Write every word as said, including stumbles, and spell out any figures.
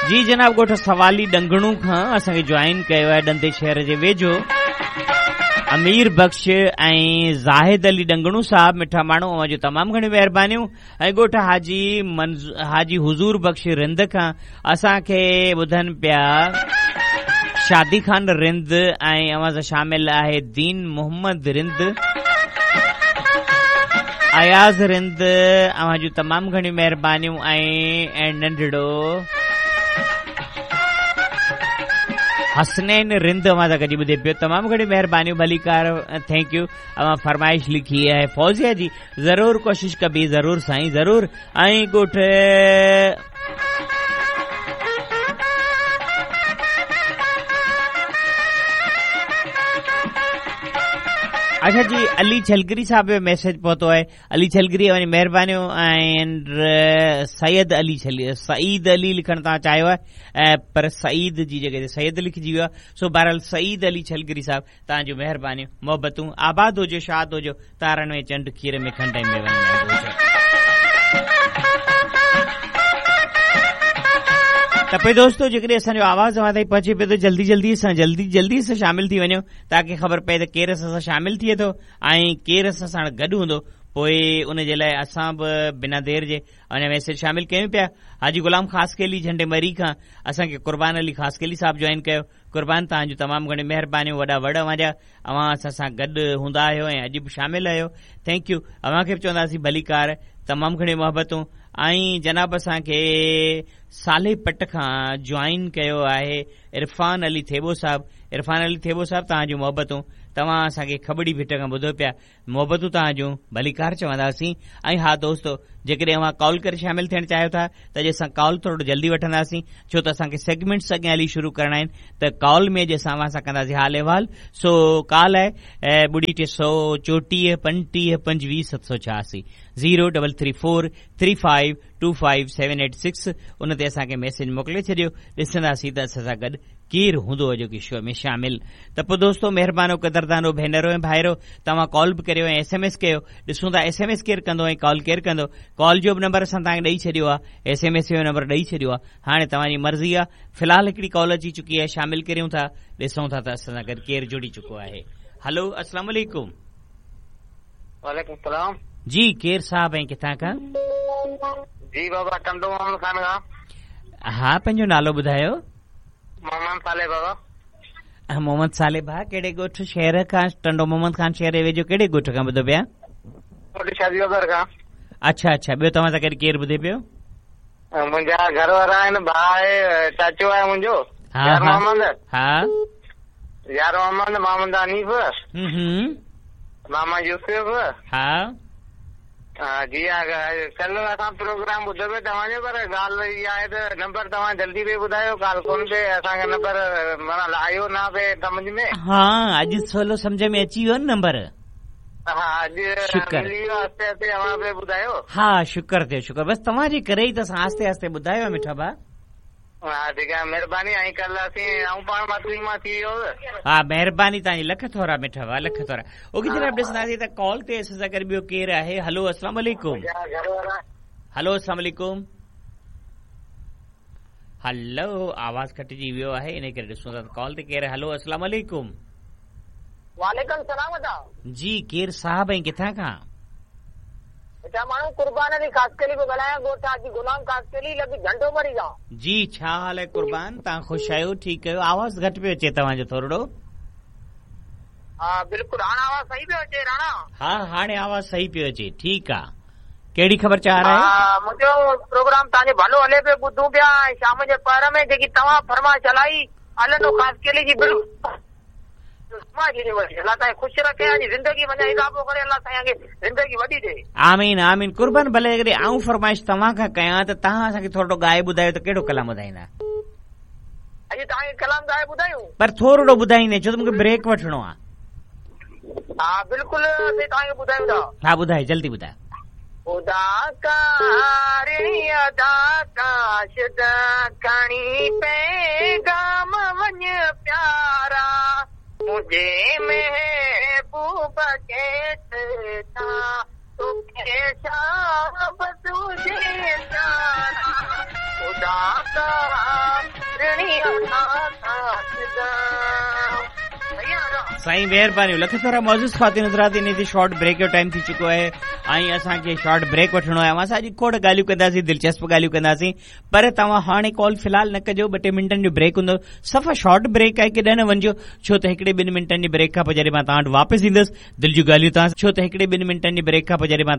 जी जनाब, ॻोठ सवाली डंगणू खां असांखे जॉइन कयो आहे डंदे शहर जे वेझो अमीर बख्श ऐं ज़ाहिद अली डंगणू साहब। मिठा माण्हू, अव्हां जूं तमामु घणियूं महिरबानियूं। ऐं ॻोठ हाजी मंज़ हाजी हुज़ूर बख्श रिंद खां असांखे ॿुधनि पिया शादी खान रिंद ऐं अव्हां सां शामिल आहे दीन मोहम्मद रिंद, अयाज़ रिंद, अव्हां जूं तमामु घणियूं महिरबानियूं। ऐं नंढड़ो हसनैन रिंद अव्हां सां गॾु ॿुधे पियो, तमामु घणियूं महिरबानियूं, भलीकार, thank you. अव्हां फरमाइश लिखी आहे फौजिया जी, ज़रूर कोशिश कबी, ज़रूर साईं ज़रूर। ऐं ॻोठ अच्छा जी, अली छलगिरी साहब जो मैसेज पहुतो आहे। अली छलगिरी अव्हांजी महिरबानियूं। ऐं सैयद अली छल सईद अली लिखणु तव्हां चाहियो आहे, पर सईद जी जॻह ते सैयद लिखिजी वियो आहे। सो बहरहाल सईद अली छलगिरी साहब, तव्हांजूं महिरबानियूं, मोहबतूं, आबाद हुजो, शाद हुजो, तारनि में चंड, खीर में खंड ऐं मेवनि में हुजो। त पोइ दोस्तो, जेकॾहिं असांजो आवाज़ अव्हां ताईं पहुचे पियो त जल्दी जल्दी सां जल्दी जल्दी सां शामिल थी वञो, ताकी ख़बर पए त केरु असां सां शामिल थिए थो ऐं केरु असां सां गॾु हूंदो। पोइ उन जे लाइ असां बि बिना देरि जे अञा मैसेज शामिल कयूं पिया। हाजी गुलाम ख़ासकेली झंडे मरी खां असांखे कुर्बान अली ख़ासकेली साहब जॉइन कयो। कुर्बान, तव्हांजूं तमामु घणियूं महिरबानियूं, वॾा वड़ अव्हांजा, अव्हां असां सां गॾु हूंदा आहियो ऐं अॼु बि शामिल आहियो, thank you. अव्हांखे बि चवंदासीं भलीकार, तमामु घणियूं मोहबतूं। ऐं जनाब असांखे साले पट खां जॉइन कयो आहे इरफान अली थेबो साहब। इरफान अली थेबो साहब, तव्हांजूं मोहबतूं, तव्हां असांखे खबड़ी भिट खां ॿुधो पिया, मोहबतूं तव्हांजूं, भलीकार चवंदासीं। ऐं हा दोस्तो, जेकॾहिं अव्हां कॉल करे शामिल थियणु चाहियो था त अॼु असां कॉल थोरो जल्दी वठंदासीं, छो त असांखे सेगमेंट्स अॻियां हली शुरू करणा आहिनि। त कॉल में अॼु असां अव्हां सां कंदासीं हाल अहिवाल। सो कॉल आहे ॿुड़ी टे सौ चोटीह पंटीह पंजवीह सत सौ छियासी, zero double three four three five two five seven eight six. उन ते असांखे मैसेज मोकिले छॾियो, ॾिसंदासीं त असां सां गॾु केरु हूंदो अॼोकी शो में शामिल। त पोइ दोस्तो, महिरबानो, कदरदानो भेनरो ऐं भाइरो, तव्हां कॉल बि करियो ऐं एस एम एस कयो। ॾिसूं था एस एम एस केरु कंदो ऐं कॉल केरु कंदो। कॉल जो बि नंबर असां तव्हांखे ॾेई छॾियो आहे, एस एम एस जो नंबर ॾेई छॾियो आहे, हाणे तव्हांजी मर्ज़ी आहे। फ़िलहाल हिकिड़ी कॉल अची चुकी आहे, शामिल करियूं था, ॾिसूं था त असां सां गॾु केरु जुड़ी चुको आहे। हलो, अस्सलाम वालेकुम। वालेकुम सलाम। जी, केरु साहब ऐं किथां खां? जी बाबा, टंडो मोहम्मद खान खां। हा, पंहिंजो नालो ॿुधायो। मोहम्मद साले बाबा। मोहम्मद साले भाउ, कहिड़े ॻोठ शहर खां? टंडो मोहम्मद खान शहर जे वेझो कहिड़े ॻोठ खां ॿुधो पिया? शादी बाज़ार खां। अच्छा अच्छा, ॿियो तव्हां सां गॾु केरु ॿुधे पियो? मुंहिंजा घर वारा आहिनि, भाउ आहे, चाचो आहे मुंहिंजो, यार मोहम्मद। हा, यार मोहम्मद, मोहम्मद हनीफ, मामा यूसुफ। हा जी हा, कल्ह असां प्रोग्राम ॿुधो पियो तव्हांजो, पर ॻाल्हि इहा आहे त नंबर तव्हां जल्दी पिए ॿुधायो, ॻाल्हि कोन पे असांखे नंबर माना आयो न पे सम्झ में। हा, अॼु सवलो सम्झ में अची वियो न नंबर। हा, अॼु मिली वियो, आहिस्ते आहिस्ते अव्हां पे ॿुधायो। हा, शुक्र थियो, शुक्र, बसि तव्हांजे करे ई त असां आहिस्ते आहिस्ते ॿुधायो मिठा भाउ। हा ठीकु आहे, महिरबानी। ऐं कल्ह असीं आउं पाण मातुरी मां थी वियो। हा, महिरबानी तव्हांजी, लख थोरा मिठा भाउ, लख थोरा। ओके जनाब, ॾिसंदासीं त कॉल ते असां सां गॾु ॿियो केरु आहे। हलो, अस्सलाम वालेकुम। हलो, अस्सलाम वालेकुम। हलो, आवाज़ कटिजी वियो आहे, इन करे ॾिसूं था कॉल ते केरु आहे। हलो, अस्सलाम वालेकुम। वालेकुम सलाम अदा। जी, केरु साहब ऐं किथां खां? मिठा माण्हू, कुर्बान अली ख़ासकेली पियो ॻाल्हायां, ॻोठ हाजी गुलाम ख़ासकेली लॻ झंडो मरी खां। जी, छा हाल आहे कुर्बान? तव्हां ख़ुशि आहियो? ठीकु आहियो? आवाज़ घटि पियो अचे तव्हांजो थोरो। हा बिल्कुलु, हाणे आवाज़ सही पियो अचे राणा? हा, हाणे आवाज़ सही पियो अचे, ठीकु आहे। कहिड़ी ख़बर चार आहे? मुंहिंजो प्रोग्राम तव्हांजो भलो हले पियो, ॿुधूं पिया। ऐं शाम जे पहर में जेकी तव्हां फरमाइश हलाई हलंदो ख़ासकेली जी, बिल्कुलु अल्लाह साईं ख़ुशि रखे, ज़िंदगी वञा इज़ाफ़ो करे, अल्लाह साईं खे ज़िंदगी वॾी ॾे। आमीन आमीन। कुर्बान, भले जेकॾहिं आउं फरमाइश तव्हां खां कयां त तव्हां असांखे थोरो ॻाए ॿुधायो त कहिड़ो कलाम ॿुधाईंदा? अॼु तव्हांखे कलाम ॻाए ॿुधायूं? पर थोरो ॿुधाईंदे, छो त मूंखे ब्रेक वठिणो आहे। हा बिल्कुलु, तव्हांखे ॿुधायूं था। हा ॿुधाए, जल्दी ॿुधायो। खुदा कारी अदा काशद खणी पैगाम वञ प्यारा, मुझे महबूब के था तोखे शाब तुझे प्यारा, खुदा का ऋणी साईं महिरबानी। लख थोरा मौजूद ख़्वातीन हज़रात, इन ते शॉर्ट ब्रेक जो टाइम थी चुको आहे ऐं असांखे शॉर्ट ब्रेक वठिणो आहे। असां अॼु खोड़ ॻाल्हियूं कंदासीं, दिलचस्प ॻाल्हियूं कंदासीं, पर तव्हां हाणे कॉल फ़िलहाल न कजो। ॿ टे मिंटनि जो ब्रेक हूंदो, सफ़ा शॉर्ट ब्रेक आहे, केॾां न वञिजो, छो त हिकिड़े ॿिनि मिंटनि जी ब्रेक खां पोइ जॾहिं मां तव्हां वटि वापसि ईंदुसि, दिलि जूं ॻाल्हियूं तव्हां, छो त हिकिड़े ॿिनि मिंटनि जी ब्रेक खां पोइ जॾहिं मां